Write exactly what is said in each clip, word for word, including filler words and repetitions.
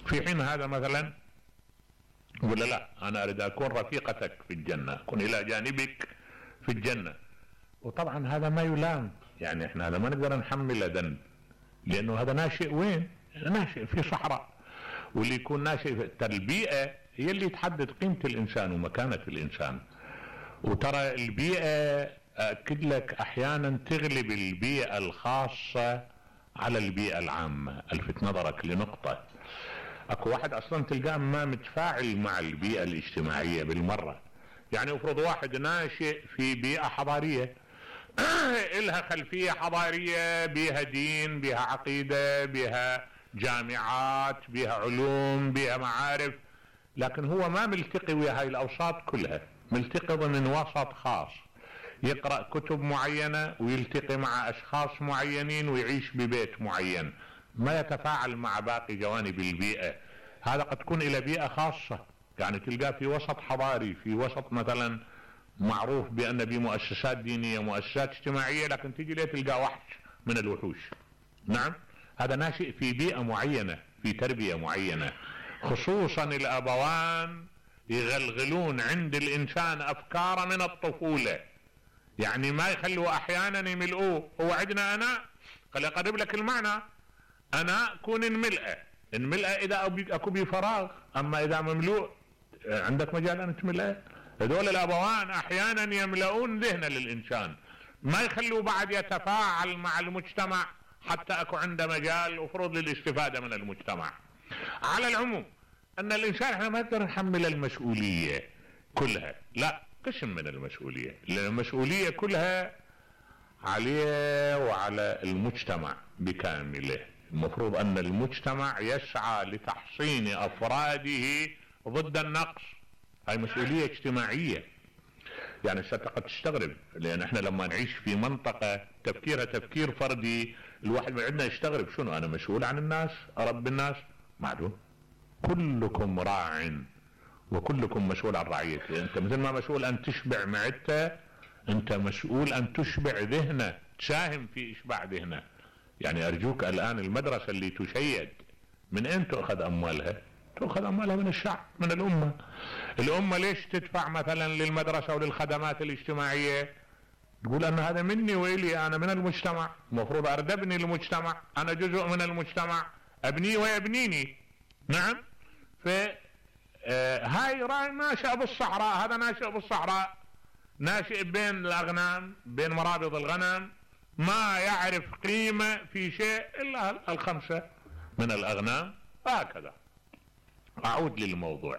في حين هذا مثلا ولا لا، انا اريد اكون رفيقتك في الجنة، اكون الى جانبك في الجنة. وطبعا هذا ما يلام، يعني احنا هذا ما نقدر نحمله ذنب، لانه هذا ناشئ وين؟ ناشئ في صحراء. واللي يكون ناشئ في البيئة هي اللي تحدد قيمة الانسان ومكانة الانسان. وترى البيئة اكد لك احيانا تغلب البيئة الخاصة على البيئة العامة. الفت نظرك لنقطة، اكو واحد اصلا تلقاه ما متفاعل مع البيئة الاجتماعية بالمرة. يعني افرض واحد ناشئ في بيئة حضارية إلها خلفية حضارية، بيها دين، بيها عقيدة، بيها جامعات، بيها علوم، بيها معارف، لكن هو ما ملتقي ويا هاي الاوساط كلها، ملتقي ضمن وسط خاص، يقرأ كتب معينة ويلتقي مع اشخاص معينين ويعيش ببيت معين، ما يتفاعل مع باقي جوانب البيئة. هذا قد تكون الى بيئة خاصة، يعني تلقاه في وسط حضاري، في وسط مثلا معروف بان بمؤسسات دينية، مؤسسات اجتماعية، لكن تجي ليه تلقاه وحش من الوحوش. نعم، هذا ناشئ في بيئة معينة، في تربية معينة. خصوصا الابوان يغلغلون عند الانسان افكار من الطفولة، يعني ما يخلوا احيانا يملؤوه. هو عندنا انا خلي اقرب لك المعنى، انا كون انملأ انملأ اذا اكو بي فراغ، اما اذا مملوء عندك مجال ان تملأ. هذول الابوان احيانا يملؤون ذهن للانسان، ما يخلوا بعد يتفاعل مع المجتمع حتى اكو عنده مجال وفرض للاستفادة من المجتمع. على العموم ان الانسان احنا ما نقدر نحمل المسؤولية كلها، لا، قسم من المسؤولية، لان المسؤولية كلها عليه وعلى المجتمع بكامله. المفروض ان المجتمع يسعى لتحصين افراده ضد النقص، هاي مسؤولية اجتماعية. يعني قد تستغرب، لان احنا لما نعيش في منطقة تفكيرها تفكير فردي، الواحد من عندنا يستغرب، شنو انا مسؤول عن الناس، ارب الناس؟ معلوم، كلكم راع وكلكم مسؤول عن رعيته. انت مثل ما مسؤول ان تشبع معدته، انت مسؤول ان تشبع ذهنه، تساهم في اشباع ذهنه. يعني ارجوك الان المدرسة اللي تشيد من اين تؤخذ اموالها؟ تؤخذ اموالها من الشعب، من الامة. الامة ليش تدفع مثلا للمدرسة وللخدمات الاجتماعية؟ تقول ان هذا مني والي، انا من المجتمع، المفروض اريد ابني المجتمع، انا جزء من المجتمع، ابني ويبنيني. نعم، ف آه هاي راي ناشئ بالصحراء، هذا ناشئ بالصحراء، ناشئ بين الاغنام، بين مرابض الغنم، ما يعرف قيمة في شيء الا الخمسة من الاغنام. هكذا اعود للموضوع،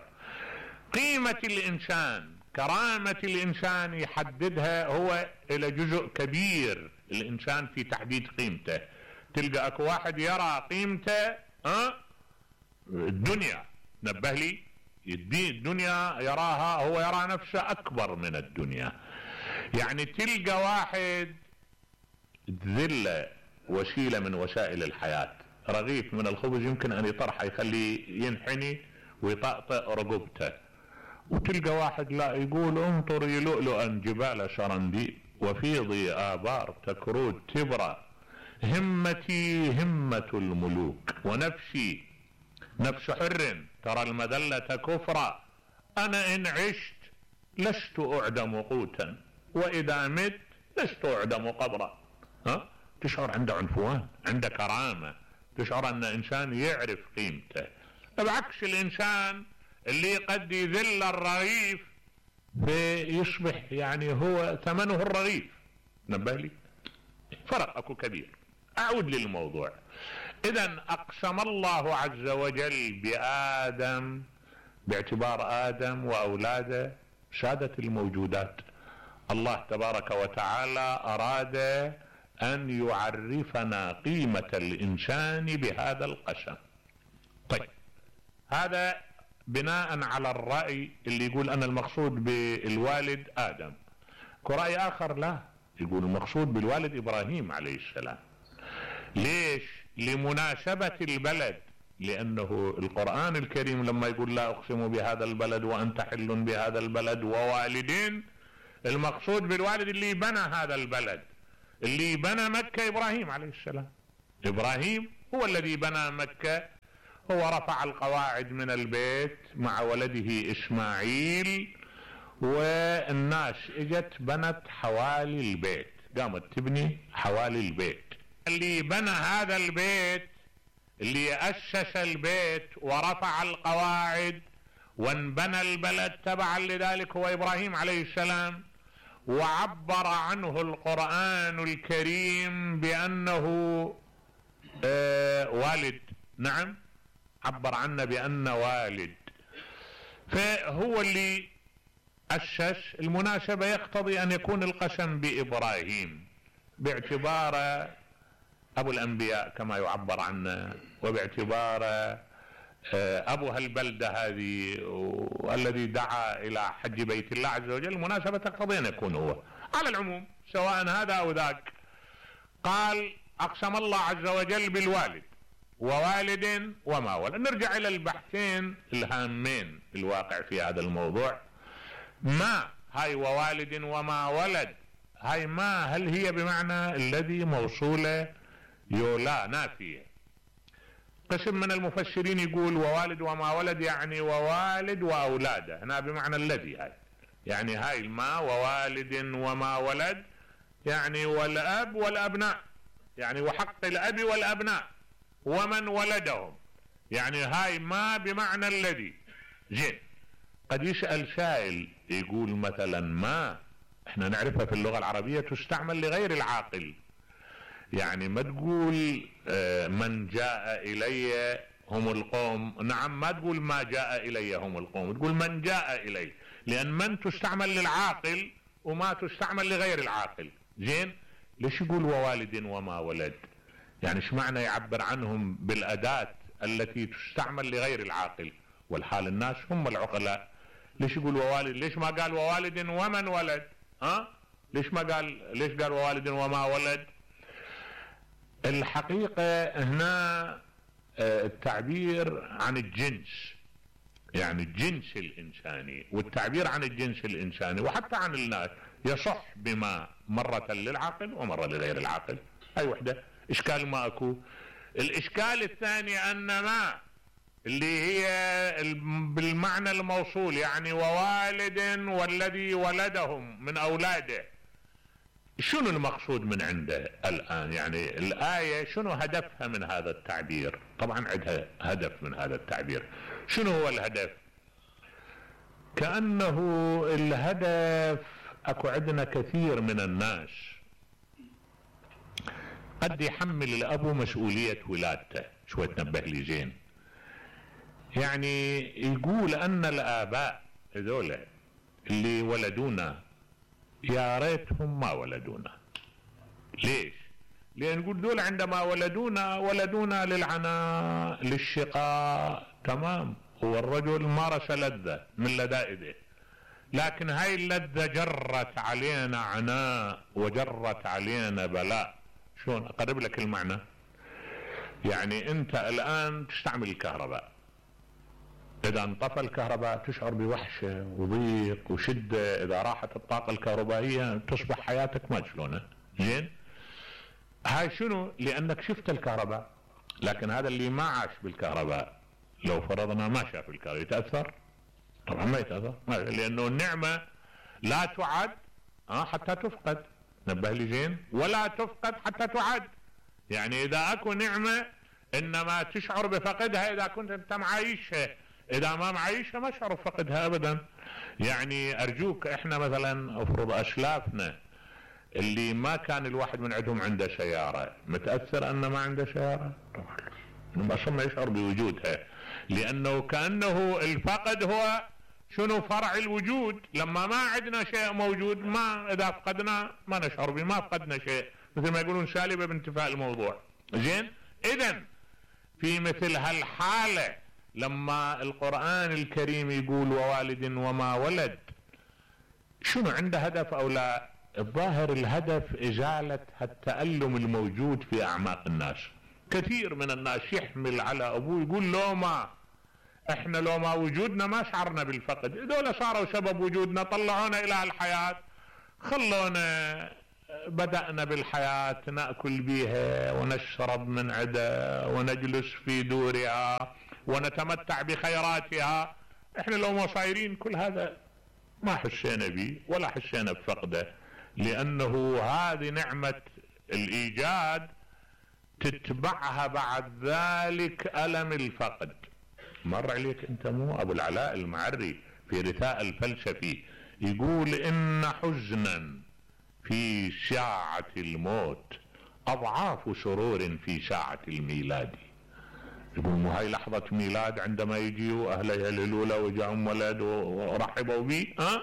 قيمة الانسان، كرامة الانسان يحددها هو الى جزء كبير الانسان في تحديد قيمته. تلقى اكو واحد يرى قيمته ها الدنيا، نبه لي، الدنيا يراها، هو يرى نفسه اكبر من الدنيا. يعني تلقى واحد تذل وسيلة من وسائل الحياة، رغيف من الخبز يمكن ان يطرحه يخليه ينحني ويطأطئ رقبته، وتلقى واحد لا، يقول انطري لؤلؤا جبال سرندي وفيضي آبار تكرود تبرى، همتي همة الملوك ونفسي نفس حر ترى المذلة كفرا، انا ان عشت لست اعدم قوتا واذا مت لست اعدم قبرا. ها، تشعر عنده عنفوان، عنده كرامة، تشعر ان انسان يعرف قيمته. بعكس الانسان اللي قد يذل الرغيف فيصبح يعني هو ثمنه الرغيف. نبه لي، فرق اكو كبير. اعود للموضوع. اذا اقسم الله عز وجل بآدم باعتبار آدم واولاده سادة الموجودات. الله تبارك وتعالى اراد ان يعرفنا قيمة الانسان بهذا القسم. طيب، هذا بناء على الرأي اللي يقول ان المقصود بالوالد آدم. كرأي اخر لا، يقول المقصود بالوالد ابراهيم عليه السلام. ليش؟ لمناسبة البلد، لانه القرآن الكريم لما يقول لا اقسم بهذا البلد وانت حل بهذا البلد ووالدين، المقصود بالوالد اللي بنى هذا البلد، اللي بنى مكة ابراهيم عليه السلام. ابراهيم هو الذي بنى مكة هو رفع القواعد من البيت مع ولده اسماعيل، والناس اجت بنت حوالي البيت، قامت تبني حوالي البيت. اللي بنى هذا البيت، اللي اسس البيت ورفع القواعد وانبنى البلد تبعا لذلك هو ابراهيم عليه السلام، وعبر عنه القرآن الكريم بأنه آه والد. نعم، عبر عنه بأنه والد، فهو اللي أسس. المناسبة يقتضي أن يكون القسم بإبراهيم باعتبار أبو الأنبياء كما يعبر عنه، وباعتبار أبو هالبلدة هذه والذي دعا إلى حج بيت الله عز وجل، المناسبة تقتضي أن يكون هو. على العموم سواء هذا أو ذاك، قال أقسم الله عز وجل بالوالد ووالد وما ولد. نرجع إلى البحثين الهامين الواقع في هذا الموضوع. ما هاي ووالد وما ولد، هاي ما هل هي بمعنى الذي موصولة يولا نافية؟ قسم من المفسرين يقول ووالد وما ولد يعني ووالد وأولاده، هنا بمعنى الذي. هاي يعني هاي الما ووالد وما ولد يعني والأب والأبناء، يعني وحق الأب والأبناء ومن ولدهم، يعني هاي ما بمعنى الذي. زين، قد يسأل سائل يقول مثلا ما احنا نعرفها في اللغة العربية تستعمل لغير العاقل، يعني ما تقول من جاء إلي هم القوم، نعم، ما تقول ما جاء إلي هم القوم، تقول من جاء إلي، لأن من تستعمل للعاقل وما تستعمل لغير العاقل. زين، ليش يقول ووالد وما ولد؟ يعني ايش معنى يعبر عنهم بالأداة التي تستعمل لغير العاقل، والحال الناس هم العقلاء؟ ليش يقول ووالد؟ ليش ما قال ووالد ومن ولد؟ ها؟ ليش ما قال ليش قال ووالد وما ولد؟ الحقيقة هنا التعبير عن الجنس، يعني الجنس الإنساني، والتعبير عن الجنس الإنساني وحتى عن الناس يصح بما مرة للعقل ومرة لغير العقل. هاي وحدة إشكال ما أكو. الإشكال الثاني أن ما اللي هي بالمعنى الموصول، يعني ووالد والذي ولدهم من أولاده، شنو المقصود من عنده الآن؟ يعني الآية شنو هدفها من هذا التعبير؟ طبعا عندها هدف من هذا التعبير. شنو هو الهدف؟ كأنه الهدف، أكو عندنا كثير من الناس قد يحمل الأب مسؤولية ولادته. شوي تنبه لي زين، يعني يقول أن الآباء هذول اللي ولدونا يا ريتهم ما ولدونا. ليش؟ لأن نقول دول عندما ولدونا ولدونا للعناء للشقاء، تمام، هو الرجل مارس لذة من لذائذه، لكن هاي اللذة جرت علينا عناء وجرت علينا بلاء. شلون أقرب لك المعنى؟ يعني أنت الآن تستعمل الكهرباء، إذا انطفى الكهرباء تشعر بوحشة وضيق وشدة، إذا راحت الطاقة الكهربائية تصبح حياتك ما شلونها. زين، هاي شنو؟ لأنك شفت الكهرباء. لكن هذا اللي ما عاش بالكهرباء لو فرضنا ما شاف الكهرباء يتأثر؟ طبعا ما يتأثر، لأنه النعمة لا تعد حتى تفقد. نبه لي زين، ولا تفقد حتى تعد. يعني إذا أكو نعمة إنما تشعر بفقدها إذا كنت أنت معايشها، إذا ما معايشها ما شعر بفقدها أبدا. يعني أرجوك، إحنا مثلا أفرض أسلافنا اللي ما كان الواحد من عندهم عنده سيارة، متأثر أنه ما عنده سيارة؟ طبعا أصلا ما يشعر بوجودها، لأنه كأنه الفقد هو شنو؟ فرع الوجود. لما ما عندنا شيء موجود، ما إذا فقدنا ما نشعر به، ما فقدنا شيء، مثل ما يقولون سالبة بانتفاء الموضوع. زين، إذن في مثل هالحالة لما القرآن الكريم يقول ووالد وما ولد، شنو عنده هدف أو لا؟ الظاهر الهدف إزالة التألم الموجود في أعماق الناس. كثير من الناس يحمل على أبوه يقول لو ما احنا لو ما وجودنا ما شعرنا بالفقد، دول صاروا سبب وجودنا، طلعونا إلى الحياة، خلونا بدأنا بالحياة نأكل بيها ونشرب من عدا ونجلس في دورها ونتمتع بخيراتها. احنا لو ما صايرين كل هذا ما حسينا به ولا حسينا بفقده، لانه هذه نعمة الايجاد تتبعها بعد ذلك الم الفقد. مر عليك انت مو ابو العلاء المعري في رثاء الفلسفي يقول ان حزنا في ساعة الموت اضعاف سرور في ساعة الميلاد. يقول مو هاي لحظة ميلاد عندما يجيوا اهله يهللوا له وجاهم ولد ورحبوا به، ها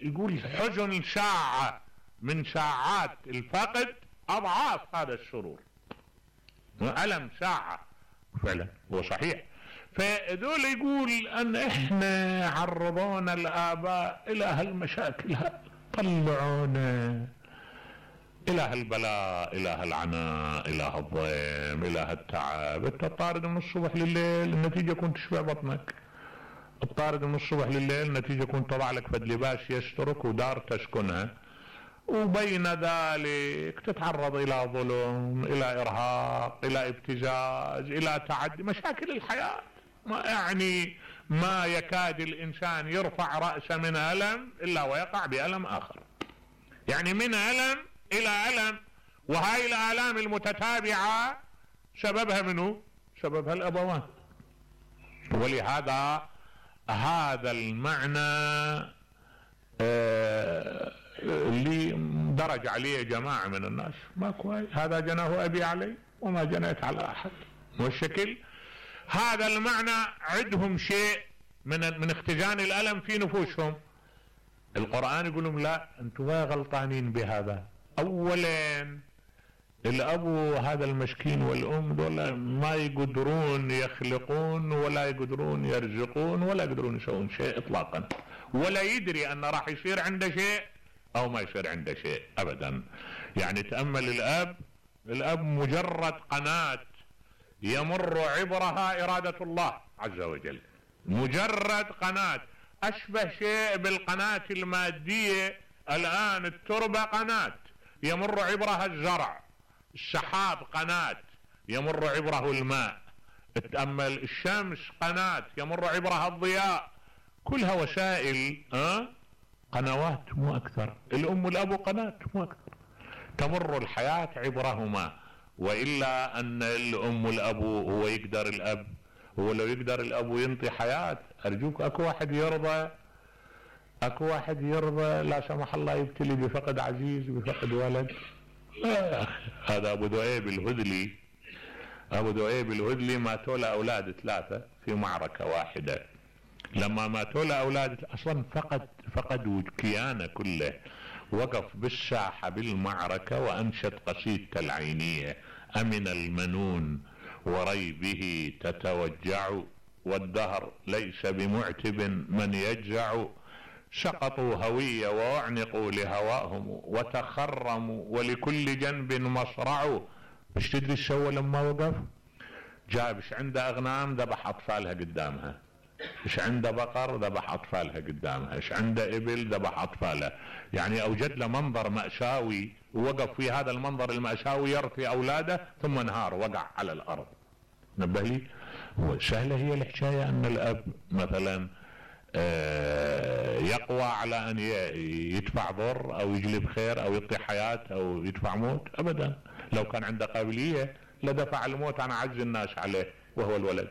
يقول حزن ساعة من ساعات الفقد اضعاف هذا السرور. ألم ساعة فعلا هو صحيح. فذول يقول ان احنا عرضونا الاباء الى هالمشاكل، طلعونا الى هالبلاء، الى هالعناء، الى هالضيم، الى هالتعب. انت طارد من الصبح لليل النتيجة كنت تشبع بطنك، الطارد من الصبح لليل النتيجة كنت تضع لك فد لباس يسترك ودار تسكنها، وبين ذلك تتعرض الى ظلم، الى ارهاق، الى ابتزاز، الى تعدي. مشاكل الحياة ما يعني ما يكاد الانسان يرفع رأسه من ألم الا ويقع بألم اخر، يعني من ألم الى ألم. وهاي الآلام المتتابعة سببها منه؟ سببها الابوان. ولهذا هذا المعنى آه اللي درج عليه جماعة من الناس ما كويس، هذا جناه ابي علي وما جنيت على احد، والشكل هذا المعنى عندهم شيء من من اختزان الالم في نفوسهم. القرآن يقول لهم لا انتم غلطانين بهذا. اولا الابو هذا المسكين والام دول ما يقدرون يخلقون ولا يقدرون يرزقون ولا يقدرون يسوون شيء اطلاقا، ولا يدري ان راح يصير عنده شيء او ما يصير عنده شيء ابدا. يعني تأمل الاب، الاب مجرد قناة يمر عبرها ارادة الله عز وجل، مجرد قناة. اشبه شيء بالقناة المادية الان، التربة قناة يمر عبرها الزرع، السحاب قناة يمر عبره الماء، تأمل الشمس قناة يمر عبرها الضياء، كلها وسائل أه؟ قنوات مو اكثر. الام والاب قناة مو اكثر، تمر الحياة عبرهما. والا ان الام والاب هو يقدر الاب، هو لو يقدر الاب ينطي حياة، ارجوك اكو واحد يرضى، اكو واحد يرضى لا سمح الله يبتلي بفقد عزيز بفقد ولد؟ لا. هذا ابو ذؤيب الهذلي، ابو ذؤيب الهذلي ماتوا له اولاد ثلاثة في معركة واحدة. لما ماتوا له اولاد اصلا فقد فقد كيانه كله، وقف بالساحة بالمعركة وانشد قصيدته العينية: امن المنون وريبه تتوجع، والدهر ليس بمعتب من يجزع، سقطوا هوية واعنقوا لهواهم وتخرموا ولكل جنب مصرع. ايش تدري ايش سوى لما وقف؟ جاب ايش عنده اغنام ذبح اطفالها قدامها، ايش عنده بقر ذبح اطفالها قدامها، ايش عنده ابل ذبح اطفالها. يعني اوجد له منظر مأساوي، ووقف في هذا المنظر المأساوي يرثي اولاده ثم انهار وقع على الارض. نبه لي، سهلة هي الحكاية ان الاب مثلا يقوى على ان يدفع ضر او يجلب خير او يعطي حياة او يدفع موت؟ ابدا. لو كان عنده قابلية لدفع الموت عن اعز الناس عليه وهو الولد.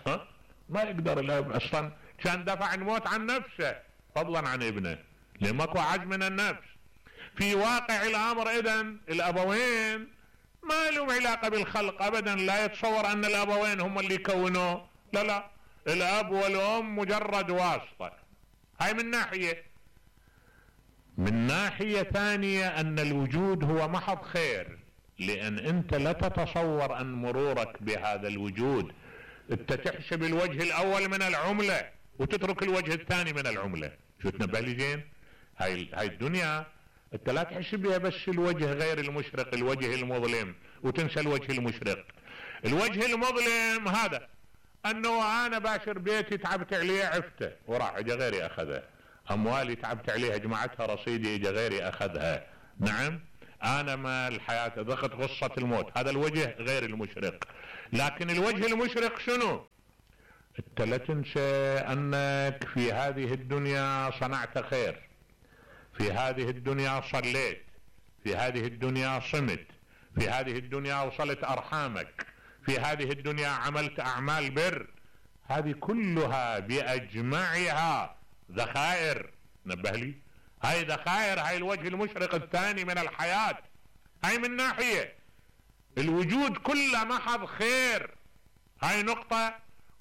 ها ما يقدر الاب اصلا، كان دفع الموت عن نفسه فضلا عن ابنه، لماكو عجز من النفس. في واقع الامر اذن الابوين ما لهم علاقة بالخلق ابدا، لا يتصور ان الابوين هم اللي كونوه، لا لا، الاب والام مجرد واسطة. هاي من ناحية. من ناحية ثانية ان الوجود هو محض خير، لان انت لا تتصور ان مرورك بهذا الوجود انت تحسب الوجه الاول من العملة وتترك الوجه الثاني من العملة. شو تنبه لي زين؟ هاي هاي الدنيا انت لا تحسب بها بس الوجه غير المشرق، الوجه المظلم، وتنسى الوجه المشرق. الوجه المظلم هذا انه انا باشر بيتي تعبت عليه عفته وراح اجى غيري اخذها، اموالي تعبت عليها جمعتها رصيدي اجى غيري اخذها. نعم، انا ما الحياة ذقت غصة الموت، هذا الوجه غير المشرق. لكن الوجه المشرق شنو؟ انت لا تنسى انك في هذه الدنيا صنعت خير، في هذه الدنيا صليت، في هذه الدنيا صمت، في هذه الدنيا وصلت ارحامك، في هذه الدنيا عملت اعمال بر. هذه كلها باجمعها ذخائر. نبه لي، هاي ذخائر، هاي الوجه المشرق الثاني من الحياة. هاي من ناحية الوجود كله محض خير، هاي نقطة.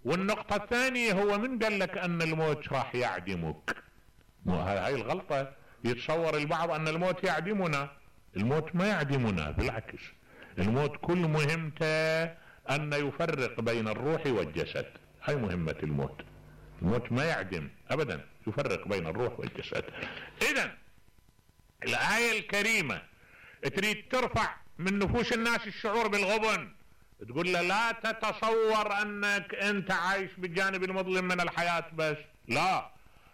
والنقطة الثانية هو من قال لك ان الموت راح يعدمك؟ هاي الغلطة، يتصور البعض ان الموت يعدمنا. الموت ما يعدمنا، بالعكس، الموت كل مهمته ان يفرق بين الروح والجسد. هاي مهمة الموت. الموت ما يعدم ابدا، يفرق بين الروح والجسد. اذا الآية الكريمة تريد ترفع من نفوس الناس الشعور بالغبن، تقول له لا تتصور انك انت عايش بالجانب المظلم من الحياة بس. لا،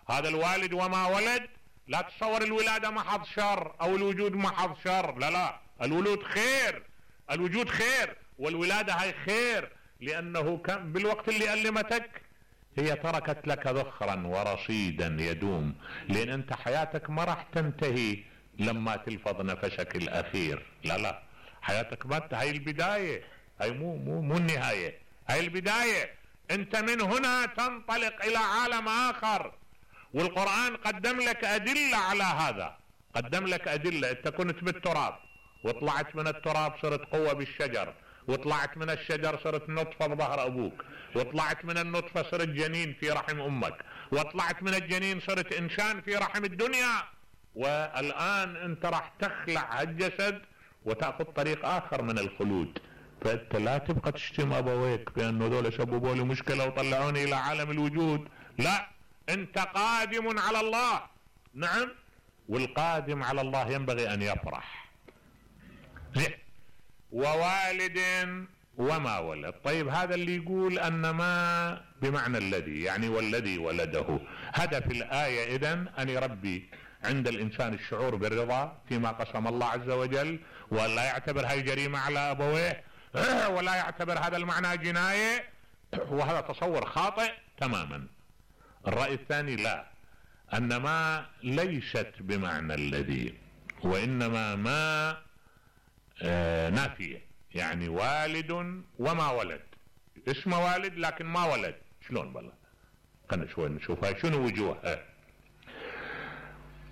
هذا الوالد وما ولد، لا تصور الولادة محض شر او الوجود محض شر. لا لا، الولود خير، الوجود خير، والولادة هاي خير، لانه كان بالوقت اللي ألمتك هي تركت لك ذخرا ورصيدا يدوم، لان انت حياتك ما راح تنتهي لما تلفظ نفسك الاخير. لا لا، حياتك ما هاي البداية، هاي مو مو مو النهاية، هاي البداية. انت من هنا تنطلق الى عالم اخر، والقرآن قدم لك ادلة على هذا. قدم لك ادلة. انت كنت بالتراب وطلعت من التراب صرت قوة بالشجر، وطلعت من الشجر صرت نطفة بظهر ابوك، وطلعت من النطفة صرت جنين في رحم امك، وطلعت من الجنين صرت انسان في رحم الدنيا، والان انت راح تخلع هالجسد وتأخذ طريق اخر من الخلود. فانت لا تبقى تشتم ابويك بانه دول سببوا لي مشكلة وطلعوني الى عالم الوجود. لا، انت قادم على الله. نعم، والقادم على الله ينبغي ان يفرح. زين، ووالد وما ولد. طيب، هذا اللي يقول ان ما بمعنى الذي، يعني والذي ولده. هدف الآية اذن ان يربي عند الانسان الشعور بالرضا فيما قسم الله عز وجل، ولا يعتبر هاي جريمة على ابويه، ولا يعتبر هذا المعنى جناية، وهذا تصور خاطئ تماما. الرأي الثاني لا، ان ما ليست بمعنى الذي، وانما ما آه نافية، يعني والد وما ولد. اسمه والد لكن ما ولد. شلون بالله؟ خلنا شوي نشوفها شنو وجوهها.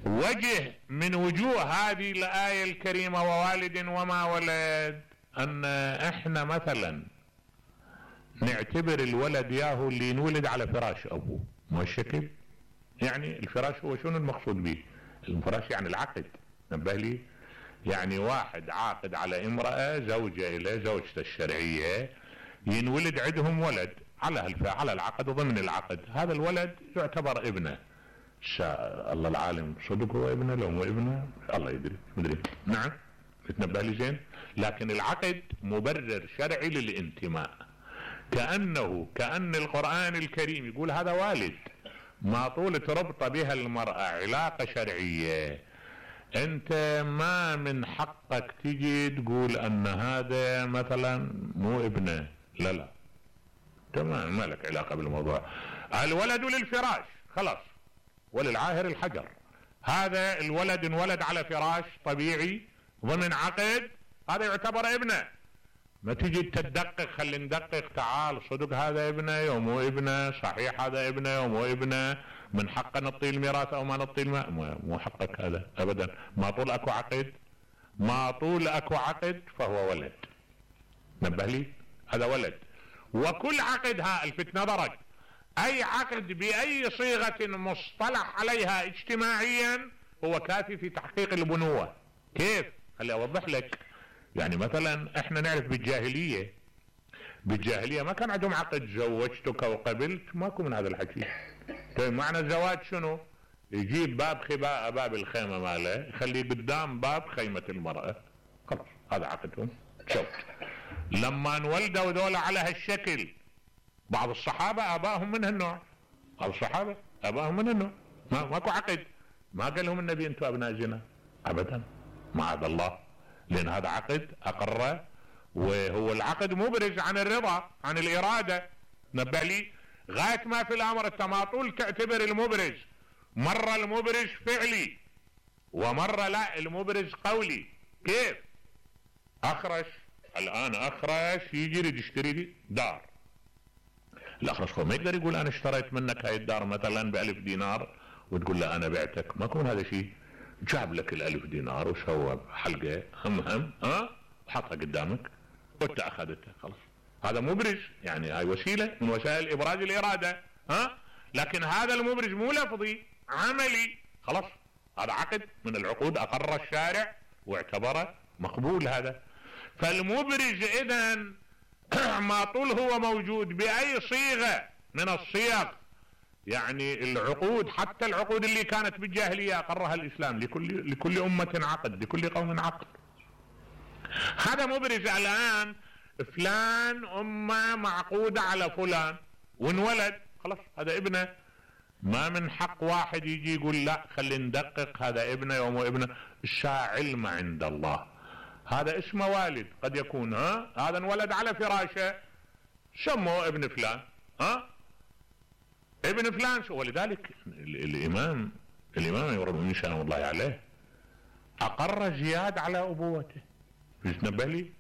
وجه من وجوه هذه الآية الكريمة ووالد وما ولد، ان احنا مثلا نعتبر الولد ياهو اللي ينولد على فراش ابوه، مو الشكل. يعني الفراش هو شنو المقصود به؟ الفراش يعني العقد. نبه لي، يعني واحد عاقد على امرأة زوجة إلى زوجته الشرعية، ينولد عندهم ولد على على العقد وضمن العقد. هذا الولد يعتبر ابنه. الله العالم صدق هو ابنه لو مو ابنه الله يدري، مدري. نعم، تنبه لي زين. لكن العقد مبرر شرعي للانتماء، كأنه كأن القرآن الكريم يقول هذا والد، ما طول تربط بها المرأة علاقة شرعية، انت ما من حقك تجي تقول ان هذا مثلا مو ابنه. لا لا، تمام، ما لك علاقة بالموضوع. الولد للفراش خلاص، وللعاهر الحجر. هذا الولد انولد على فراش طبيعي ضمن عقد، هذا يعتبر ابنه. ما تجي تدقق، خلي ندقق، تعال صدق هذا ابنه يوم مو ابنه، صحيح هذا ابنه يوم مو ابنه، من حقه نعطيه الميراث او ما نعطيه الماء. مو حقك هذا ابدا. ما طول اكو عقد، ما طول اكو عقد فهو ولد. نبه لي، هذا ولد. وكل عقد، ها الفت نظرك، اي عقد باي صيغة مصطلح عليها اجتماعيا هو كافي في تحقيق البنوة. كيف؟ خلي اوضح لك. يعني مثلا احنا نعرف بالجاهلية، بالجاهلية ما كان عندهم عقد زوجتك وقبلت، ماكو من هذا الحكي. طيب معنى الزواج شنو؟ يجيب باب خباء باب الخيمة ماله، يخليه قدام باب خيمة المرأة، خلاص هذا عقدهم. شوف لما انولدوا ذولا على هالشكل، بعض الصحابة ابائهم من هالنوع، بعض الصحابة ابائهم من هالنوع، ما ماكو عقد. ما قال لهم النبي انتم ابناء زنا ابدا، معاذ الله، لان هذا عقد اقره، وهو العقد مبرز عن الرضا، عن الارادة. نبه لي، غاية ما في الامر انت ما طول تعتبر المبرز مرة المبرز فعلي ومرة لا المبرز قولي. كيف؟ اخرش الان اخرش يجي يريد يشتري لي دار، الاخرش هو ما يقدر يقول انا اشتريت منك هاي الدار مثلا بألف دينار وتقول له انا بعتك، ما يكون هذا شيء. جاب لك الالف دينار وسوى حلقة هم هم ها وحطها قدامك وانت اخذتها خلاص، هذا مبرز، يعني هاي وسيلة من وسائل ابراز الارادة ها. لكن هذا المبرز مو لفظي عملي، خلاص هذا عقد من العقود اقر الشارع واعتبره مقبول هذا. فالمبرز اذا ما طول هو موجود باي صيغة من الصيغ، يعني العقود حتى العقود اللي كانت بالجاهلية اقرها الاسلام، لكل لكل امة عقد لكل قوم عقد. هذا مبرز الان فلان امه معقودة على فلان وانولد خلاص هذا ابنه، ما من حق واحد يجي يقول لا خلي ندقق هذا ابنه ومو ابنه. الشاع علم عند الله، هذا اسمه والد قد يكون ها هذا انولد على فراشه سموه ابن فلان ها ابن فلان. ولذلك الامام الامام يرضى سلام الله عليه اقر زياد على ابوته. تنبه لي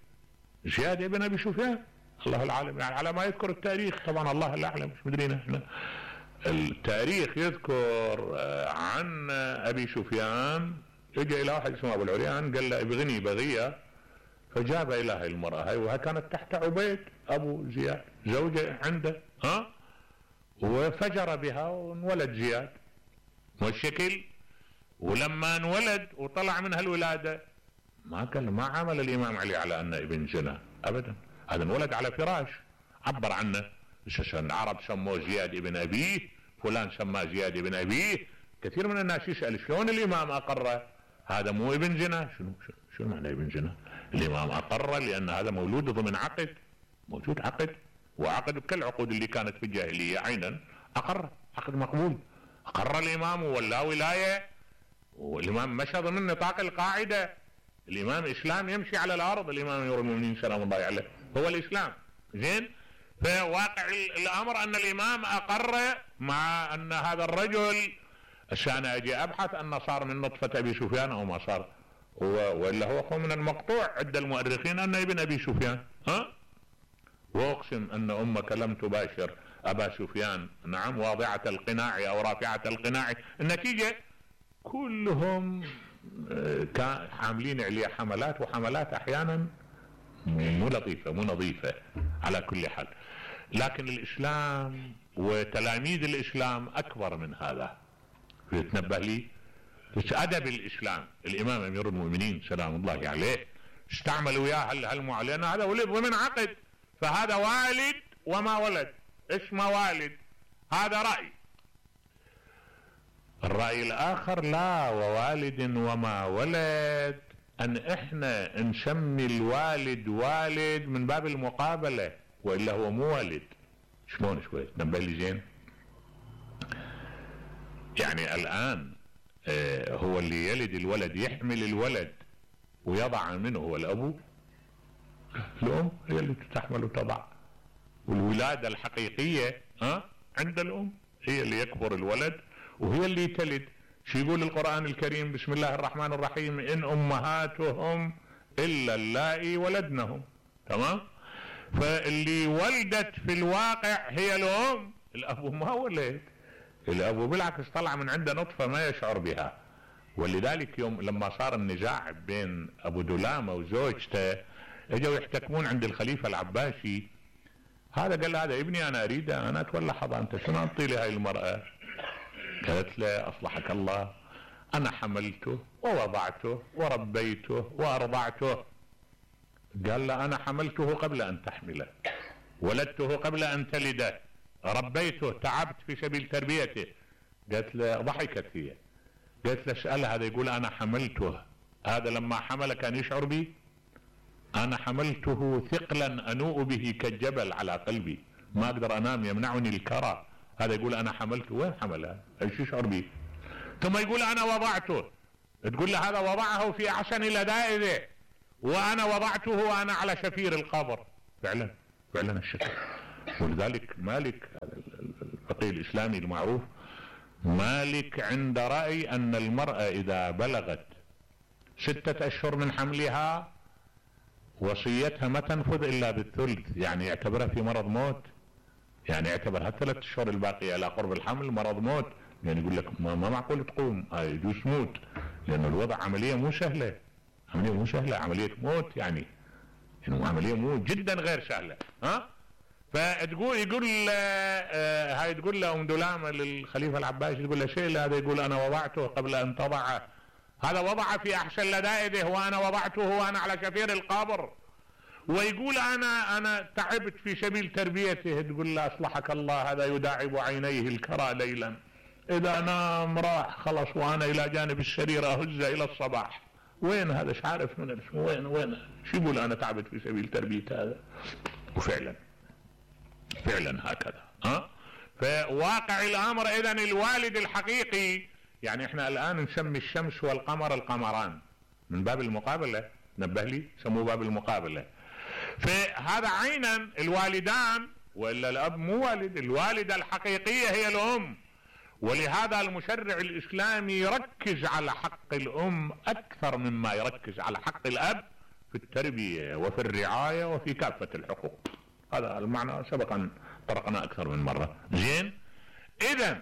زياد ابن ابي سفيان الله العالم، يعني على ما يذكر التاريخ، طبعا الله الاعلم مش مدرينا احنا. التاريخ يذكر عن ابي سفيان اجى الى واحد اسمه ابو العريان قال له ابغني بغيه، فجاب الى هاي المراه هاي وها كانت تحت عبيد ابو زياد زوجه عنده ها، وفجر بها وانولد زياد والشكل. ولما انولد وطلع منها الولاده ما قال ما عمل الامام علي على انه ابن زنا ابدا، هذا انولد على فراش عبر عنه. العرب سموه زياد ابن ابيه، فلان سماه زياد ابن ابيه. كثير من الناس يسأل شلون الامام اقره هذا مو ابن زنا؟ شنو شنو معنى ابن زنا؟ الامام اقره لان هذا مولود ضمن عقد، موجود عقد، وعقد كالعقود اللي كانت في الجاهليه عينا اقر، عقد مقبول. اقر الامام ولا ولايه، والامام مشى ضمن نطاق القاعده. الامام اسلام يمشي على الارض، الامام امير المؤمنين سلام الله عليه هو الاسلام. زين، فواقع الامر ان الامام اقر مع ان هذا الرجل عشان اجي ابحث انه صار من نطفة ابي سفيان او ما صار، والا هو هو من المقطوع عند المؤرخين انه ابن ابي سفيان ها. واقسم ان امك لم تباشر ابا سفيان، نعم، واضعة القناع او رافعة القناع. النتيجة كلهم كان حاملين عليه حملات، وحملات احيانا مو لطيفة مو نظيفة على كل حال. لكن الاسلام وتلاميذ الاسلام اكبر من هذا. يتنبه لي ادب الاسلام. الامام امير المؤمنين سلام الله عليه استعمل وياه هالمعلنة، هذا ولد ضمن عقد، فهذا والد وما ولد اسمه والد. هذا رأي. الرأي الاخر لا، ووالد وما ولد ان احنا نسمي الوالد والد من باب المقابلة، والا هو مو والد. شلون شوي تنبه لي زين؟ يعني الان آه هو اللي يلد الولد يحمل الولد ويضع منه هو الابو، الام هي اللي تحمل وتضع، والولادة الحقيقية ها آه عند الام، هي اللي يكبر الولد وهي اللي تلد. شو يقول القرآن الكريم؟ بسم الله الرحمن الرحيم: إن أمهاتهم إلا اللائي ولدنهم. تمام؟ فاللي ولدت في الواقع هي الأم، الأب ما ولد. الأب بالعكس طلع من عنده نطفة ما يشعر بها. ولذلك يوم لما صار النزاع بين أبو دلامة وزوجته اجوا يحتكمون عند الخليفة العباسي، هذا قال هذا ابني أنا أريده أنا أتولى حضانته، شنو أعطي لي هاي المرأة؟ قالت له أصلحك الله أنا حملته ووضعته وربيته وأرضعته. قال له أنا حملته قبل أن تحمله، ولدته قبل أن تلده، ربيته تعبت في سبيل تربيته. قالت له ضحكت هي، قالت له اسأل هذا يقول أنا حملته، هذا لما حمل كان يشعر بي؟ أنا حملته ثقلا أنوء به كالجبل على قلبي، ما أقدر أنام يمنعني الكرى. هذا يقول أنا حملته، وين حملها؟ ايش يشعر به؟ ثم يقول أنا وضعته، تقول له هذا وضعه في أحسن لذائذه، وأنا وضعته وأنا على شفير القبر. فعلا فعلا الشكل. ولذلك مالك الفقيه الاسلامي المعروف مالك عند رأي ان المرأة اذا بلغت ستة اشهر من حملها وصيتها ما تنفذ الا بالثلث، يعني يعتبرها في مرض موت، يعني يعتبرها الثلاث اشهر الباقية الى قرب الحمل مرض موت، يعني يقول لك ما, ما معقول تقوم، هاي يجوز تموت، لان الوضع عملية مو سهلة، عملية مو سهلة، عملية موت، يعني يعني عملية مو جدا غير سهلة. ها فتقول يقول آه هاي تقول له ام دلامة للخليفة العباسي، تقول له شيء هذا، يقول انا وضعته قبل ان تضعه، هذا وضع في احسن لدائده وانا وضعته وانا على شفير القبر، ويقول انا انا تعبت في سبيل تربيته، تقول له اصلحك الله هذا يداعب عينيه الكرى ليلا، اذا نام راح خلص وانا الى جانب السرير اهز الى الصباح، وين هذا مش عارف من اسمه، وين وين شو يقول انا تعبت في سبيل تربية هذا. وفعلا فعلا هكذا. ها فواقع الامر اذا الوالد الحقيقي، يعني احنا الان نسمي الشمس والقمر القمران من باب المقابلة، نبه لي سموه باب المقابلة، فهذا عينا الوالدان، والا الاب مو والد، الوالدة الحقيقية هي الام، ولهذا المشرع الاسلامي يركز على حق الام اكثر مما يركز على حق الاب في التربية وفي الرعاية وفي كافة الحقوق. هذا المعنى سبقا طرقنا اكثر من مرة. زين، اذا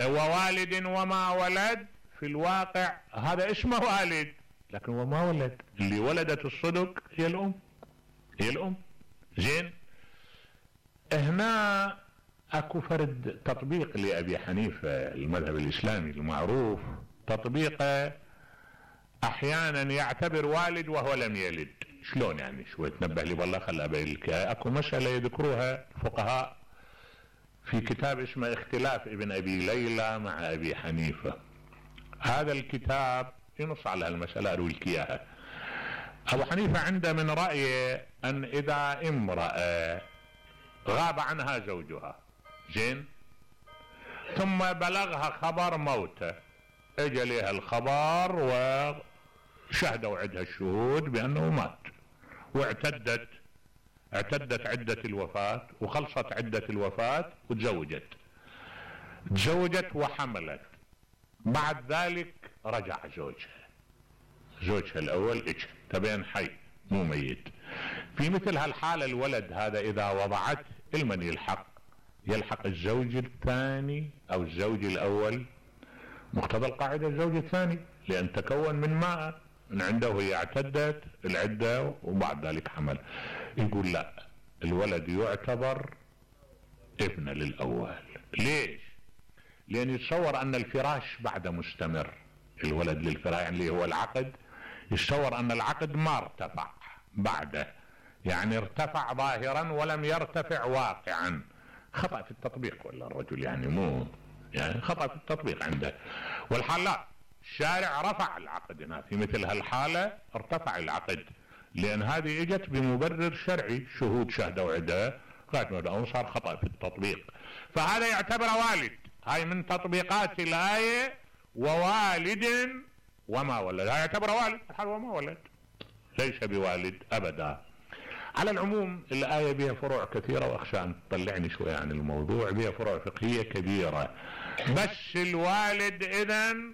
ووالد وما ولد في الواقع هذا اسمه والد، لكن وما ولد، اللي ولدت الصدق هي الام، هي الام. زين، هنا اكو فرد تطبيق لابي حنيفة المذهب الاسلامي المعروف، تطبيقه احيانا يعتبر والد وهو لم يلد. شلون يعني؟ شوي تنبه لي والله، خل ابينك. اكو مسألة يذكروها الفقهاء في كتاب اسمه اختلاف ابن ابي ليلى مع ابي حنيفة. هذا الكتاب ينص على المسألة، اروي لك اياها. ابو حنيفة عنده من رأيه ان اذا امرأة غاب عنها زوجها، زين، ثم بلغها خبر موته، اجى لها الخبر وشهدوا عندها الشهود بانه مات، واعتدت اعتدت عدة الوفاة وخلصت عدة الوفاة وتزوجت تزوجت وحملت، بعد ذلك رجع زوجها زوجها الاول اجى تبين حي مو ميت. في مثل هالحالة الولد هذا اذا وضعته المن يلحق؟ يلحق الزوج الثاني او الزوج الاول، مقتضى القاعدة الزوج الثاني، لان تكون من ماء من عنده هي اعتدت العدة وبعد ذلك حمل. يقول لا، الولد يعتبر ابن للاول. ليش؟ لان يتصور ان الفراش بعد مستمر، الولد للفراش يعني اللي هو العقد، يتصور ان العقد ما ارتفع بعده، يعني ارتفع ظاهرا ولم يرتفع واقعا. خطأ في التطبيق ولا الرجل، يعني مو يعني خطأ في التطبيق عنده. والحال لا، الشارع رفع العقد هنا، في مثل هالحالة ارتفع العقد، لان هذه اجت بمبرر شرعي، شهود شهدوا عدة قاعد صار خطأ في التطبيق، فهذا يعتبر والد. هاي من تطبيقات الآية ووالد وما ولد، هاي يعتبر والد الحال وما ولد، ليس بوالد ابدا. على العموم الآية بها فروع كثيرة، واخشى ان تطلعني شوية عن الموضوع، بها فروع فقهية كبيرة، بس الوالد اذن